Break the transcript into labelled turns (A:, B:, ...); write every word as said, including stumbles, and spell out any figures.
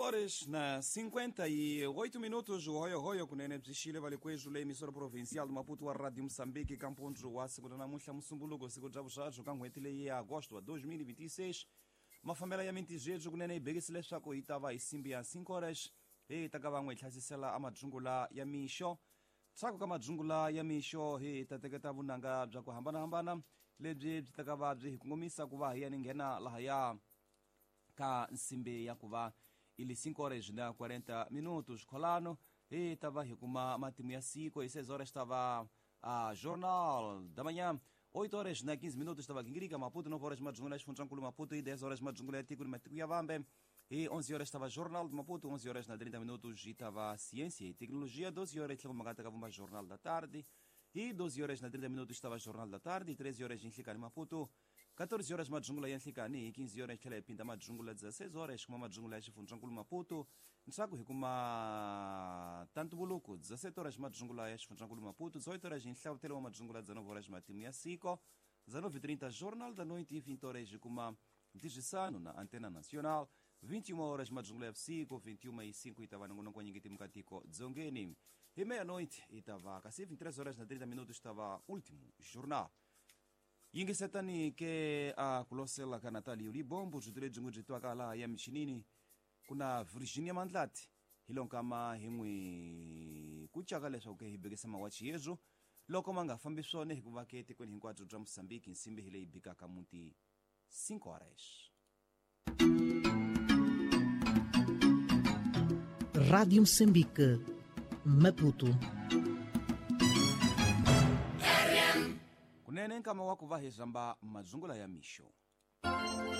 A: Horas na cinquenta e oito minutos, o Royo Royo kunene bzixile vale kwezhu le emissora provincial de Maputo a Rádio Moçambique, Campo wa segunda na muhla Mussumbuluko, siku bya vuxaxo ka n'hweti leyi ya agosto wa dois mil e vinte e seis. Mafambela ya mintijejo kunene yi bekisile leswaku yi ta va hi simbi ya cinco horas, hi ta ka van'we hi hlasisela a madzungula ya mixo. Ntshaku ka madzungula ya mixo hi ta teketa vunanga bya ku hambanahambana lebyi byi ta ka va byi hi kongomisa ku va hi ya ni nghena lahaya ka nsimbi ya ku va ili cinco horas na quarenta minutos. Kholano hi ta va hi kuma matimu ya siku hi seis horas tava a Jornal da Manhã, oito horas na quinze minutos tava Guingirica Maputo, nove horas madzungula Xifundzankulu Maputo e dez horas madzungula ya tiko ni matiko ya vambe. E onze horas estava Jornal de Maputo, onze horas na trinta minutos e estava Ciência e Tecnologia, doze horas estava Vumba Jornal da Tarde, e doze horas na trinta minutos estava Jornal da Tarde, e treze horas em Nhlikani Maputo, quatorze horas madzungula ya Nhlikani, quinze horas tlhela hi pinda madzungula, dezesseis horas kuma madzungula ya Xifundzankulu Maputo, ntshaku hi kuma Tantubuluku, dezessete horas madzungula ya Xifundzankulu Maputo, dezoito horas em Nhlavutelo wa madzungula, dezenove horas matimu ya siko, dezenove e trinta Jornal da Noite e vinte horas hi kuma Ntirhisano na Antena Nacional, vinte e uma horas madzungula ya vusiku, vinte e uma e cinco itava nongonoko wa nyingeti mukatiko dzongeni. E meia-noite itava kasi vinte e três horas na trinta minutos estava último jornal. Yingisetani ke a kulosela ka Natalia Libombo byi byi n'wi byi twaka laha ya michinini kuna Virginia Mandlati hi lonkama hi n'wi kucaka leswaku ke hi bekisa mawachi yezu loko ma nga fambi swona hikuva ke etikweni hinkwabyo bya Mozambique nsimbi hi leyi bikaka muti cinco horas.
B: Rádio Moçambique, Maputo.
A: Kunene nkama wa ku va hi zamba madzungula ya mixo.